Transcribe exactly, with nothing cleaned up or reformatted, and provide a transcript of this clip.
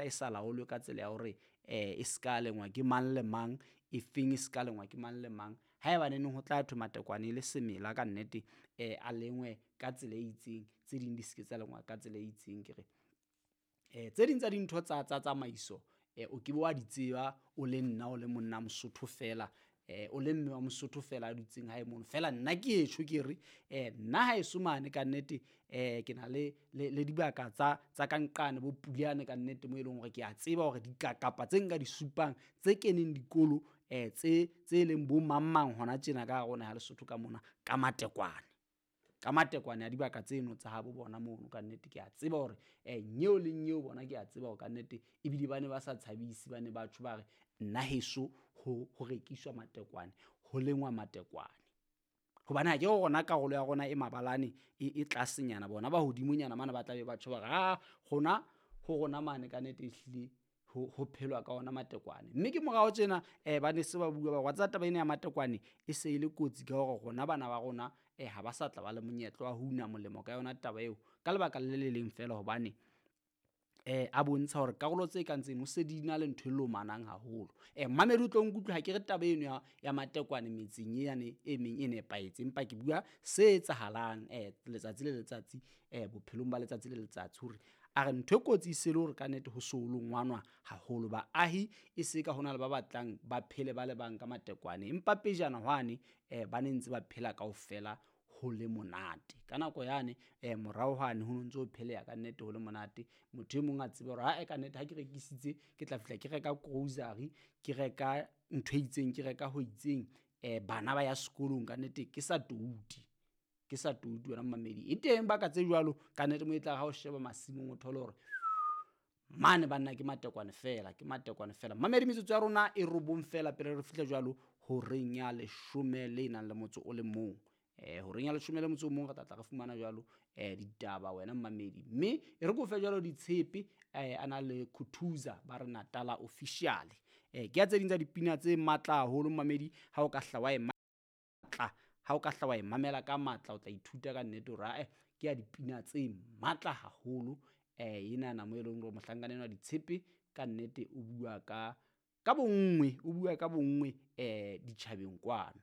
fela e sa laolwe ka tsela ya hore um e ska lengwa ke mang le mang, e feng e ska lengwa ke mang le mang. Haeba neneng ho tla thwe matekwane e le semela ka nnete um a lengwe ka tsela e itseng, tse ding di se ke tsa lengwa ka tsela e itseng. Ke re um tse ding tsa dintho tsa tsa tsamaiso um o ke be wa di tseba o le nna o le monna Mosotho fela, um o le mme wa Mosotho fela a dutseng hae mono. Feela nna ke e tjho ke re um nna haeso mane kannete um ke na le le le dibaka tsa tsa ka nqane bo Pulane kannete moo e leng hore ke a tseba hore dikakapa tse nka di supang tse keneng dikolo um tse tse leng bo mang mang hona tjena ka hare ho naha ya Lesotho ka mona ka matekwane. Ka matekwane a dibaka tseno tsa habo bona mono kannete ke a tseba hore nyeo le nyeo bona ke a tseba hore kannete ebile ba ne ba sa tshabise, ba ne ba tjho ba re nna heso ho ho rekiswa matekwane, ho lengwa matekwane. Hobane akere rona karolo ya rona e mabalane e, e tlasenyana, bona ba hodimonyana mane ba tla be ba tjho ba re aa rona ho rona mane kannete ehlile ho, ho phelwa ka ona matekwane. Mme ke morao tjena um ba ne se ba bua ba re wa tseba taba ena ya matekwane e se e le kotsi ka hore rona bana ba rona um ha ba sa tla ba le monyetla wa ho una molemo ka yona taba eo, ka lebaka le le leng feela hobane um a bontsha hore karolo tse kang tseno se di na le ntho e lomanang haholo. Mmamedi o tlo nkutlwe ha ke re taba eno ya, ya matekwane metseng yane e meng e nepahetse, empa ke bua se etsahalang um letsatsi le letsatsi um bophelong ba letsatsi le letsatsi hore a re ntho e kotsi e se le hore kannete ho so longwanwa haholo. Baahi e se ka hona le ba batlang ba phele ba le bang ka matekwane, empa pejana hwane um ba ne ntse ba phela kaofela ho le monate. Ka nako yane um morao hwane ho no ntso ho pheleha kannete ho le monate. Motho e mong a tsebe hore ae kannete ha ke rekisitse ke tla fihla ke reka grocery, ke reka ntho e itseng, ke reka ho itseng, um bana ba ya sekolong kannete ke sa toute, ke sa toute wena momamedi. E teng baka tse jwalo kannete moo e tla re ha o sheba masimong o thole hore mane banna ke matekwane fela, ke matekwane fela. Mmamedi metsotso ya rona e robong fela pele re fihla jwalo horeng ya leshome le nang le motso o le mong. Um horeng ya leshome le motso o mong re tla tla re fumana jwalo um ditaba wena mmamedi. Mme e re ke o fe jwalo ditshepe um a na le Khuthuza ba re Natala officially. Um ke ya tse ding tsa dipina tse matla haholo mmamedi ha o ka hla wa e matla, ha o ka hla wa e mamela ka matla o tla ithuta ka nnete hore ae ke ya dipina tse matla haholo um enana moo e leng hore mohlankana enwa ditshepe ka nnete o bua ka ka bonngwe, o bua ka bonngwe um ditjhabeng kwano.